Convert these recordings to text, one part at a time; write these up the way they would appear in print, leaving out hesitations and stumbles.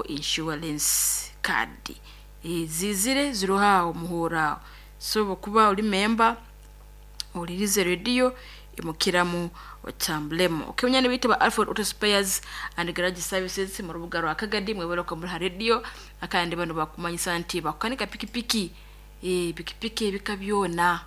Insurance Card zizire ziroho aho muhurro aho, so obu okuba oli memba ohulirize rediyo imukiramu otambulemu. Okay, banywani baitu ba Alfred Auto Spares and Garage Services mu rubuga rwa Kagadi, mwebale okuba muri ha rediyo kandi banu bakumanyisa nti bakukanika pikipiki, pikipiki ebika byona,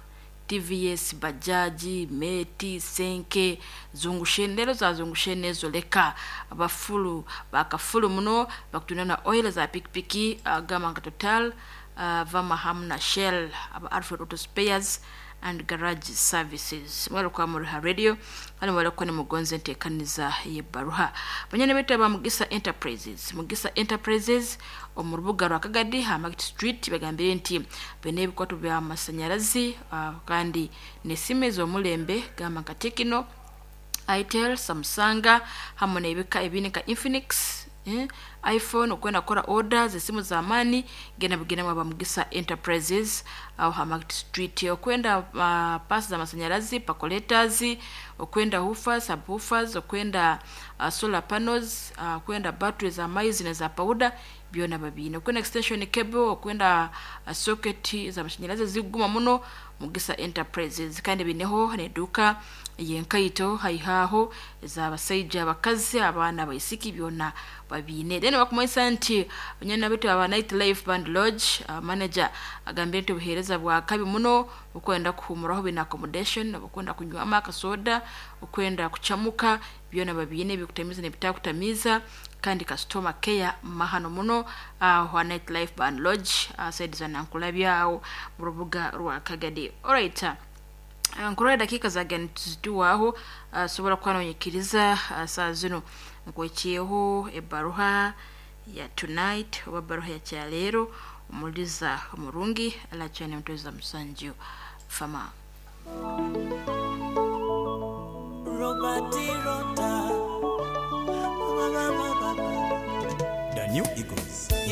TVS, Bajaji, Meti, Senke, Zungusheni, leero za Zungusheni ezo leka bafulu bakafulu muno bakutunda na oil za pikipiki gamba nka Total, Vama hamu na Shell aba Alfred Auto Spares and Garage Services. Mwebale kuba muri ha radio kandi mwebale kuba nimugonza enteekaniza y'ebbaruha. Banywani baitu aba Mugisa Enterprises, Mugisa Enterprises omu rubuga rwa Kagadi ha Market Street bagambire nti baine ebikwato by'amasanyarazi kandi n'esimu ez'omulembe gamba nka Tecno, Itel, Samsung hamu n'ebika ebindi nka Infinix, iPhone. Okwenda kukora order z'esimu z'amaani genda bugendemu aba Mugisa Enterprises aho ha Market Street. Okwenda paasi z'amasanyarazi, percolators, okwenda woofers, subwoofers, okwenda solar panels, okwenda battery z'amaizi n'eza powder byona babiine. Okwenda extension cable, okwenda socket z'amasanyarazi ezikuguma muno, Mugisa Enterprises. Kandi baineho n'eduuka ey'enkaito haihi aho ez'abasaija, abakazi, abaana, abaisiki byona babiine. Then bakumanyisa nti banywani baitu aba Night Life Band Lodge, manager agambire nti obuheereza bwa kabi muno, okwenda kuhuumuraho baine accommodation, okwenda kunywamu akasoda, okwenda kucamuka byona babiine ebikutamiiza n'ebitakutamiiza kandi customer care mahano muno aho ha Night Life Band Lodge side za Nankulabye aho mu rubuga rwa Kagadi. Alright, nkurora edakiika zagenda nituzituwaho, sobora kuba nonyikiriza saaha zinu nkwekyeho ebbaruha ya tonight oba ebbaruha ya kyaleero omuliza omurungi alacane mutweza musanju fama. Robert Rota. The New Eagle.